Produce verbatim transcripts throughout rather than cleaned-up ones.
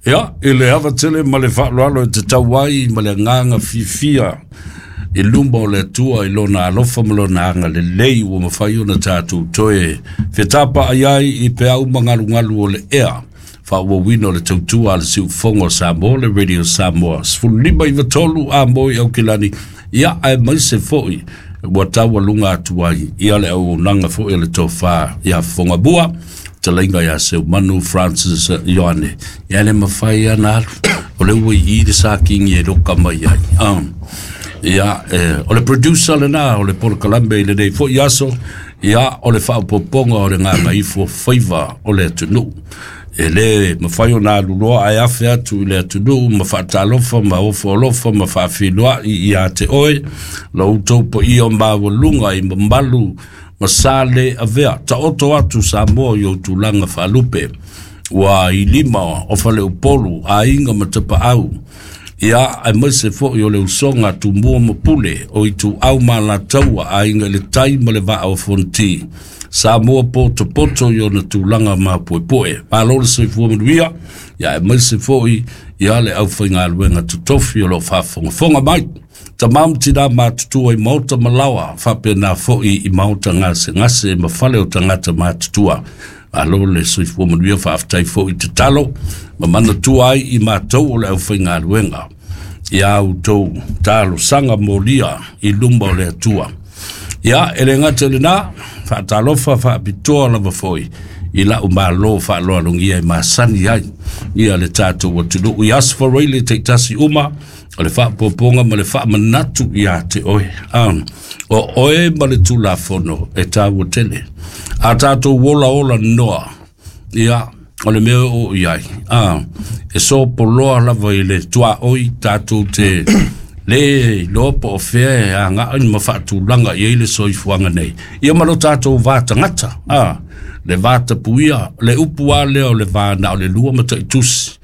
Ia, i le ava tele ma le faaaloalo e tatau ai ma le agaga fiafia i luma o le Atua i lona alofa ma lona agalelei ua mafai ona tatou toe fetapaai ai i peau ma galugalu o le ea faaauauina o le tautua a le siufofoga o Samoa, le Radio Samoa sefulu lima iva tolu a mo i Aukilani. Ia, aemaise foi ua taualuga atu ai ia le auaunaga foi a le tofa ia Fogamua talaiga ia Seumanu Francis Ioane. Ia le mafai ana alu o le ua i le sakingi e loka mai ai. Um, ia, eh, o le producer lena o le polokalame i lenei foi aso. Ia, o le faaopoopoga o le gagaifo faiva o le atunuu e le mafai ona aluloa ae afe atu i le atunuu ma faatalofa ma ofo alofa ma faafiloai ia te oe la outou paia o maualuga i mamalu ma sa le avea. Taoto atu Samoa i ou tulaga faalupe ua i lima o faleupolu, aiga ma tapaau, ia aemaise foi o le usoga Tumua ma Pule, o Ituau ma Alataua, Aiga i le Tai ma le Vaa o Fonoti. Samoa potopoto i ona tulaga mapoepoe. Malo le soifua manuia, ia aemaise foi ia le aufaigaluega totofi o lo o faafogafoga mai. Tama ma tina matutua i maota ma laoa, faapena foi i maota gasegase ma fale o tagata matutua. Malo le soifua manuia, faafetai foi tatalo ma manatua ai i matou o le aufaigaluega ia outou talosaga molia i luma o le Atua. Ia, e le gata i lena, faatalofa faapitoa lava foi i lau malo faaloalogia e masani ai ia le tatou atunuu i aso faraile taitasi uma o le faapopoga ma le faamanatu ia te oe. Um, o oe ma le Tulafono e taua tele. A tatou ola ola noa, ia, o le mea o i ai. Ah, e sopoloa lava i le tuaoi tatou te le iloa po o fea e agai ma faatulaga i ai le soifuaga nei. Ia ma lo tatou va tagata, ah, le va tapuia, le upu a lea o le va na o le lua ma taitusi.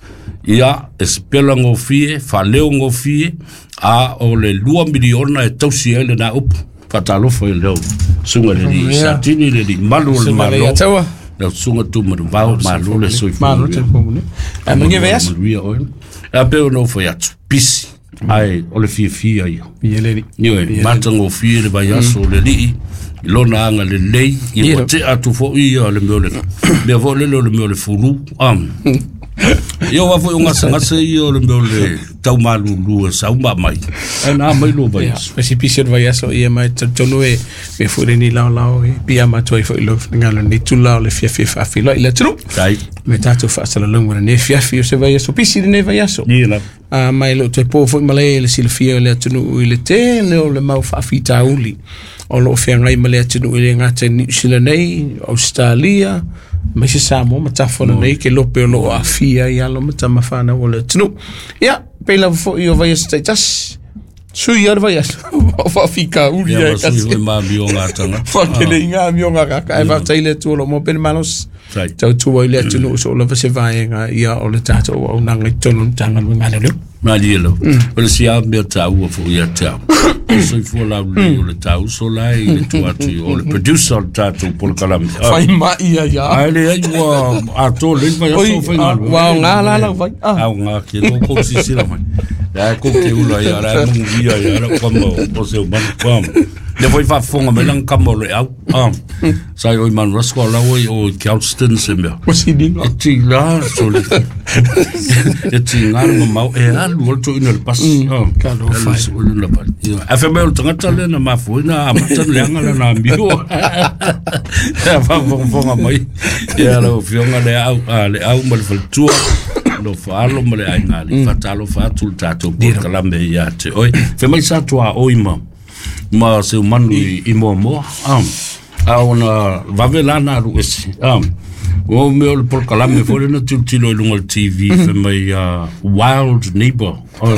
Ia, e sepela gofie, faaleo gofie, a o le lua miliona e tausi ai lena upu. Faatalofa i leo susuga le alii Satini, le alii malu o le Malo. Lau susuga Tumanuvao, malo le soifua. Malo le soifua manuia. Ae manuia vaiaso. Manuia oe. A pe ona ou fai atu, pisi, ae o le fiafia ia. Ia le alii. Ioe, matagofie le vaiaso o le alii i lona agalelei, ia ua tea atu foi ia le mea o le mea foi lele o le mea o le fulu. Um. Ia ua foi o gasegase ia o le mea o le taumalulu e sau ma mai. Ae na mai lo vaiaso. Ia, pisi o le vaiaso ia mai talitonu e me foi lenei laolao e pia matua ai foi i lou finagalo lenei tula o le fiafia faafeiloai i le atunuu. Tai. Me tatou faasalalauga lenei afiafi o se vaiaso pisi lenei vaiaso. Ia lava. A mai le o toe po foi malae i le silafia o le atunuu i le tele o le mau faafitauli o lo o feagai ma le atunuu e le gata i Niu Sila nei, Ausetalia, aemaise Samoa ma tafa nei ke lope o lo o aafia ai alo ma tama fanau o le atunuu. Ia, pei lava foi o vaiaso taitasi. Sui ia le vaiaso. O faafitauli Ia ai ma sui kasi. foi ma amioga a tagata. Whakele i ngā amioga kaka. Ai faafetai i le Atua o lo o maua pea le malosi. Tai. Tautua i le atunuu so o lava se vaega ia o le tatou auaunaga i totonu o le Matagaluega a Leoleo. Malie lau. O le isi lava mea taua foi ia te au. O le soifua laulelei o le tauso la e i le tua atu i o le producer o le tatou polokalame. Fai mai ia ia. Ae leai ua atoa lelei le vaiaso Oi, o faigaluega. ua aoga la lau vai. Ah. Aoga ke lo kou sisila mai. La kou te ula ia la mungu ia ia la kama o se umanu. Um, le foi faafofoga mai lana kama o le au. Um, sa i o i Manu Rasko la oi o Galston se mea. O sininga. E tiga sole. E tiga le mamao e alu o le toeaina i le pasi. Talofa e. Alu le pasi. Ae fai mai o le tagata lea na mafua na amata le leaga lana amio. E faafogafoga mai. Ia lau afioga le au, a, le au ma le faletua. Lo faalo ma le aiga alii. Faatalofa atu le tatou polokalame ia te oe. Fai mai sa tuaoi ma ma Seumanu i, i Moamoa. Um, a ona vave la na alu ese. Um, o mea o le polokalame foi lena tilotilo i luga o le T V fai mai uh, Wild Neighbor. Oh,